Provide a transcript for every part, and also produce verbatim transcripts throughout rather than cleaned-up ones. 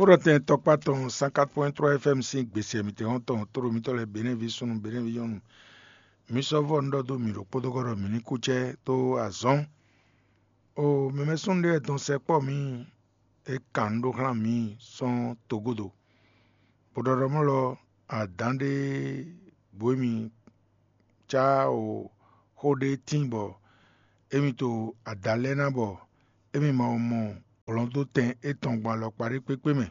Kpóɖɔtɛn tɔkpá tɔn cent quatre point trois F M sín gbèsè mǐtɛn tɔn tlóló mitɔ́ lɛ́ɛ Benɛ́ví súnnu Benɛ́ví nyɔ́nu. Mi sɔ́ vɔ́ un ɖɔ dó mǐ ɖokpónɔ ɖɔ mǐ ní kú cɛ́ dó azɔ̌. O mɛmɛ súnnu ɖé wɛ dɔn sɛkpɔ́ mǐ, é kan nǔ ɖó xlán mǐ sɔ́ togodo. Bó ɖɔ ɖɔ mɔ̌ lɔ, adǎn ɖé bǔ émí cá o xó ɖé tíin bɔ émí to ada lɛ́ɛ ná bɔ émí ma mɔ hlɔ̌ndótɛn étɔn gbɔn alɔkpa ɖé kpékpé mɛ.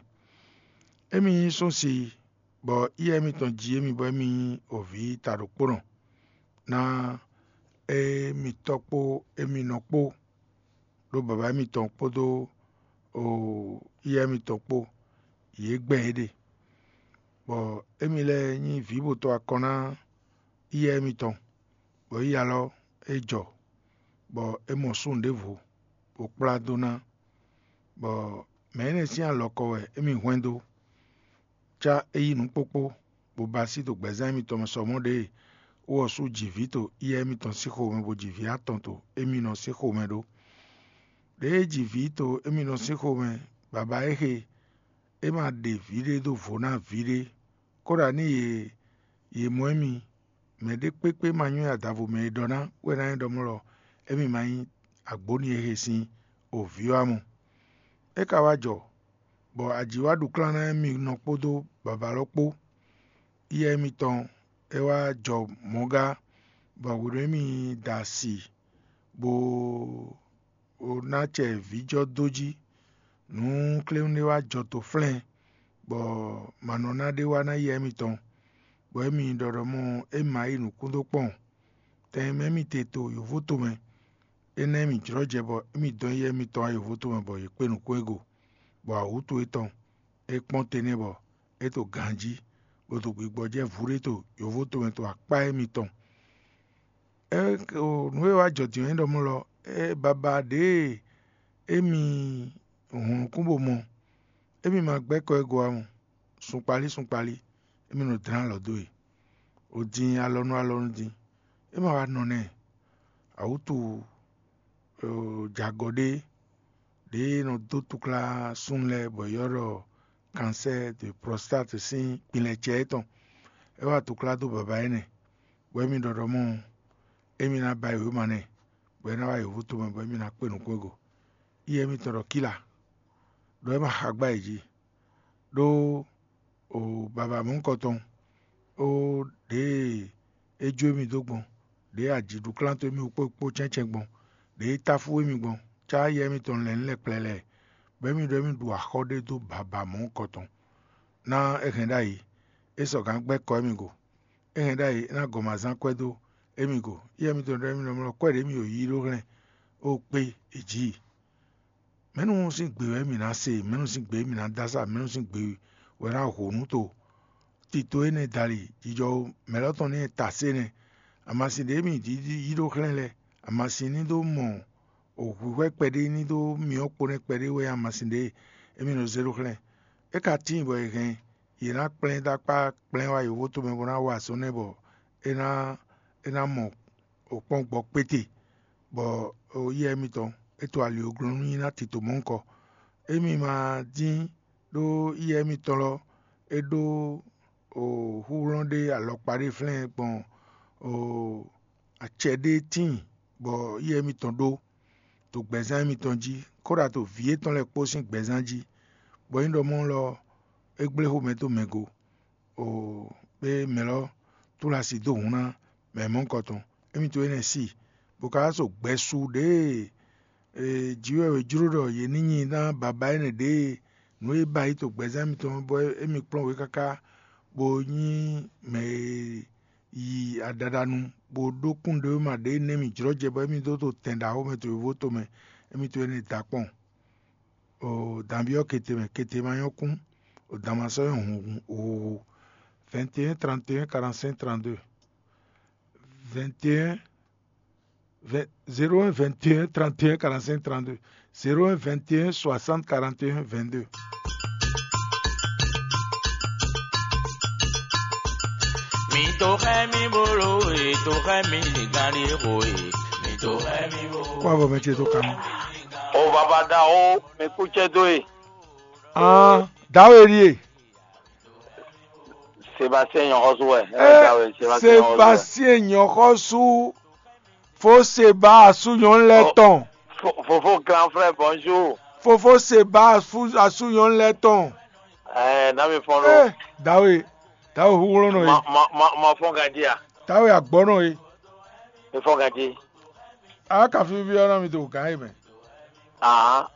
Émí nyí súnsi, bɔ yíyá émítɔn jí émí bɔ émí nyí ovǐ ta ɖokpónɔ ná émítɔ́ kpó émí nɔ kpó, ɖó baba émítɔn kpódó yíyá émítɔn kpó, yě gbɛn yě ɖe, bɔ émí lɛ́ɛ nyí vǐ bo to akɔn ná yíyá émítɔn, bɔ yíyá lɔ é jɔ, bɔ é mɔ súnnu ɖěvo, bó kplá dó ná, bɔ mɛ énɛ́ sín alɔkɔ wɛ émí hwɛ́n dó, cá é yí nǔ kpókpó, bó ba sí ɖo gbɛ̌zán émítɔn mɛ sɔ mɔ̌ ɖě wú ɔ́ sú ji vǐ to yíyá émítɔn sín xomɛ, bó ji vǐ atɔn to émínɔ sín xomɛ ɖó. Ɖěe é ji vǐ to émínɔ sín xomɛ, baba é xe é ma ɖe vǐ ɖé dó vo ná vǐ ɖé, kóɖa ní yě yě mɔ émí. Mɛ ɖé kpékpé ma nywɛ́ adavo mɛ e ɖɔ ná wɛ ná nyí ɖɔ mɔ̌ lɔ émí ma nyí agbǒ n'i e he sin o vǐ ɔ́ ǎ mɔ. É ka wá jɔ, bɔ aji wá ɖu klán ná émí nɔ kpódó baba lɔ kpó. Yíyá émítɔn é wá jɔ mɔ̌ gá, bɔ hwenu émí da asi bó ná acɛ vǐjɔ́ dó jí, nǔ kléwún ɖé wá jɔ to flɛ́n, bɔ manɔná ɖé wá ná yɛ émítɔn, bɔ émí ɖɔ ɖɔ mɔ é ma yí nǔkún dó kpɔ́n. Tɛn e mɛ émí te to yǒvótomɛ, énɛ́ émí jlɔ́ jɛ bɔ émí dɔn yɛ émítɔn wá yǒvótomɛ bɔ yě kpé nukún e go, bɔ awǔtu étɔn é kpɔ́n te nɛ́ bɔ é to ganjí, bó to gbigbɔjɛ́ vǔ ɖé to yǒvótomɛ to akpá émítɔn. É nǔ e wá jɔ din ɔ́ nyí ɖɔ mɔ̌ lɔ, é baba ɖěe émí hun nukún bó mɔ, émí ma gbɛ́ kɔ e go ǎ mɔ, sunkpalí sunkpalí, émí nɔ dlɛ́n alɔ dó e. O din alɔ nú alɔ nú din, é ma wá nɔ nɛ́. Awǔtu jagɔ ɖé ɖě e nɔ dó túklá súnnu lɛ́ɛ bɔ è ylɔ́ ɖɔ kansɛ́ de prostate sín kpinlɛcɛ étɔn. É wá túklá dó baba énɛ́, bɔ émí ɖɔ ɖɔ mɔ émí ná ba yěwéma nɛ́, bɔ é ná wá yǒvú tomɛ bɔ émí ná kpé nǔkún e go. Yíyá émítɔn ɖɔ kíla, ɖɔ é ma xa gbá yě jí, ɖó o baba mɔ̌hunkɔtɔn, ó ɖěe é jó émí dó gbɔn, ɖěe ajiɖuklán towe mì kpó kpó cɛ́ncɛ́n gbɔn, ɖěe é táfú émí gbɔn, cá yɛ émítɔn lɛ̌nlɛ́n kplɛlɛ, bɔ émí ɖɔ émí ɖu axɔ́ ɖé dó baba mɔ̌hunkɔtɔn. Ná é hɛn ɖ'ayǐ, é sɔgǎn gbɛ́ kɔ émí go. É hɛn ɖ'ayǐ, é ná gɔn mǎ zán kwɛ́ dó émí go. Yɛ émítɔn ɖɔ émí nɔ mlɔ́ kwɛ́ ɖě mì ɖo yí ɖó hlɛ́n, ó kpé è jǐ i. Mɛ̌nu sín gbe wɛ mǐ ná se? Mɛ̌nu sín gbe mǐ ná dó asá? Mɛ̌nu sín gbe wɛ ná ho nǔ to? Tito énɛ́ dali, jijɔ mɛ lɔ tɔn ní ta sé nɛ́. Amasin ɖě mǐ yí ɖó xlɛ́n lɛ́ɛ, amasin ní dó mɔ hwǐhwɛ́ kpɛɖé ní dó myɔ kpo nɛ́ kpɛɖé wɛ amasin ɖě émí nɔ zé ɖó xlɛ́n. É ka tíin bɔ è hɛn yě ná kplɛ́n dó akpá kplɛ́n wá yǒvótomɛ bó ná wa azɔ̌ nɛ́ bɔ é ná é ná mɔ kpɔ́n gbɔ kpéte, bɔ yíyá émítɔn é to ali e glɔ́n nú nyí ná tito mɔ̌hunkɔ. Émí ma dín ɖó yíyá émítɔn lɔ é ɖó húhlɔ́n ɖé alɔkpa ɖé flɛ́n gbɔn acɛ ɖé tíin, bɔ yíyá émítɔn ɖó to gbɛ̌zán émítɔn jí, kóɖa to vǐ yětɔn lɛ́ɛ kpó sín gbɛ̌zán jí, bɔ é nyí ɖɔ mɔ̌ lɔ é gblé xomɛ dó mɛ go. O, bɛ mɛ lɔ tlú asi dó hǔn ná mɛ mɔ̌hunkɔtɔn. Émí to énɛ́ sí, bó ka wá so gbɛsu ɖěe jǐ wɛ è jló ɖɔ yě ní nyi ná baba énɛ́ ɖěe nǔ e ba yí to gbɛzán mitɔn bɔ émí kplɔ́n wě káká, bó nyí mɛ e yi aɖaɖa nu, bó ɖó kún ɖé ma ɖě nɛ́ mì jlɔ́ jɛ bɔ émí dó to tɛn ɖaxó mɛ to yǒvó tomɛ, émí to énɛ́ da kpɔ́n. O danví ɔ́ kete mɛ, kete ma nyɔ́ kún, o dan ma sɔ́ nyɔ́ hun huhu. Vingt et un trente et un quarante-cinq trente-deux. Vingt et un, zéro un vingt et un trente et un quarante-cinq trente-deux. Zéro un vingt et un soixante quarante et un vingt-deux. Mi to xɛ mi bolo e, to xɛ mi gari xo e, mi to xɛ mi bolo. Kó avɔ mɛ ce tó kàn. O baba da o, mi kú cɛ dó e. Ah. Dǎwe ɖíe. Sébastien nyɔxɔsú wɛ. Sebastien nyɔxɔsú. Fó seba asú nyɔnu lɛ́ɛ tɔn. Fofo grand frère bonjour. Fofó seba asú nyɔnu lɛ́ɛ tɔn. Ɛɛ nami fɔn ɖo. Dǎwe, dǎwe huhlɔ́nɔ e. Ma fɔn ganji a. Dǎwe agbɔnɔ e. Mi fɔn ganji. A ka fífí ɔ́ ná mi do gǎn e mɛ. Ahan.